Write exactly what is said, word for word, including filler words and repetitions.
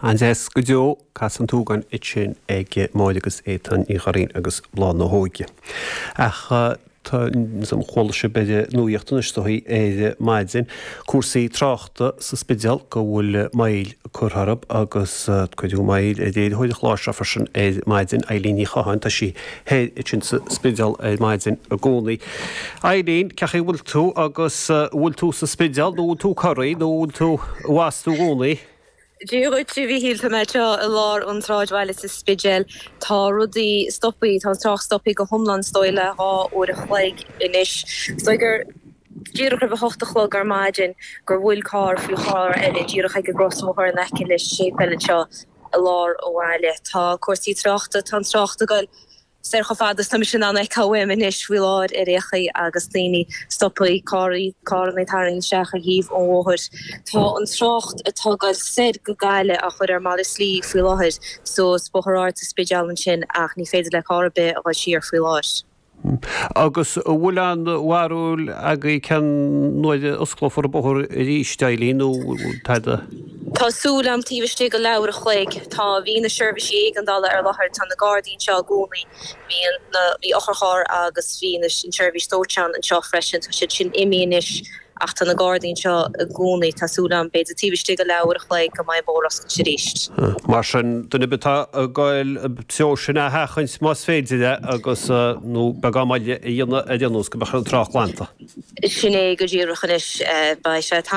An-deas go deo Cath an tSúgáin ansin ag Máire agus Étáin Ní Churraoin agus Bláth na hÓige. Ach tá chuala sibh ar an nuacht anois dóigh ar maidin cúrsaí tráchta sa Spidéal go bhfuil moill curtha orthu agus cuireadh moill ar léiritheoir an chláir seo freisin ar maidin Eileen Ní Chatháin tá sí thoir ansin sa Spidéal ar maidin i gcónaí. Eileen, cén chaoi a bhfuil tú agus bhfuil tú sa Spidéal nó bhfuil tú corraí nó bhfuil tú bhfas tú i gcónaí? Dia dhuit a Mhíchíl, tá mé anseo i lár an tsráidbhaile sa Spidéal. Tá rudaí stoptha, tá an trácht stoptha go hiomlán is dóigh le dhá uair a chloig anois. Is dóigh gur díreach roimh a hocht a chlog ar maidin gur bhuail carr faoi charr eile díreach ag an gcrosbhóthar in aice le séipéal anseo i lár an bhaile. Tá cúrsaí tráchta, tá an trácht ag goil soir chomh fada is tá mise in ann a fheiceáil uaim anois faoi láthair ar aon chaoi agus daoine stoptha, carraí, carranna tarraingthe isteach ar thaobh an bhóthair. Tá an trácht atá ag goil soir go Gaillimh á chur ar malairt slí faoi láthair suas Bóthar Ard sa Spidéal ansin ach ní féidir le carr ar bith a dhul siar faoi láthair. Agus an bhfuil aon bharúil agaibh cén uair a osclófar an bóthar arís, Eileen, nó tada? Tá súil agam taobh istigh de leathuair a chloig. Tá, bhí na seirbhísí éigeandála ar láthair, tá na Gardaí anseo i gcónaí, bhí an, na, bhí otharcharr agus bhí na, an tseirbhís dóiteáin anseo freisin, tá siad sin imithe anois ach tá na Gardaí anseo i gcónaí. Tá súil agam, b'fhéidir taobh istigh de leathuair a chloig go mbeidh an bóthar oscailte arís. Mar sin, duine ar bith atá ag goil an treo sin a sheachaint más féidir é agus, nó beagán moille a dhéanamh ar aon nós go mbeadh an trácht glanta. Sin é go díreach anois. Beidh sé tamall.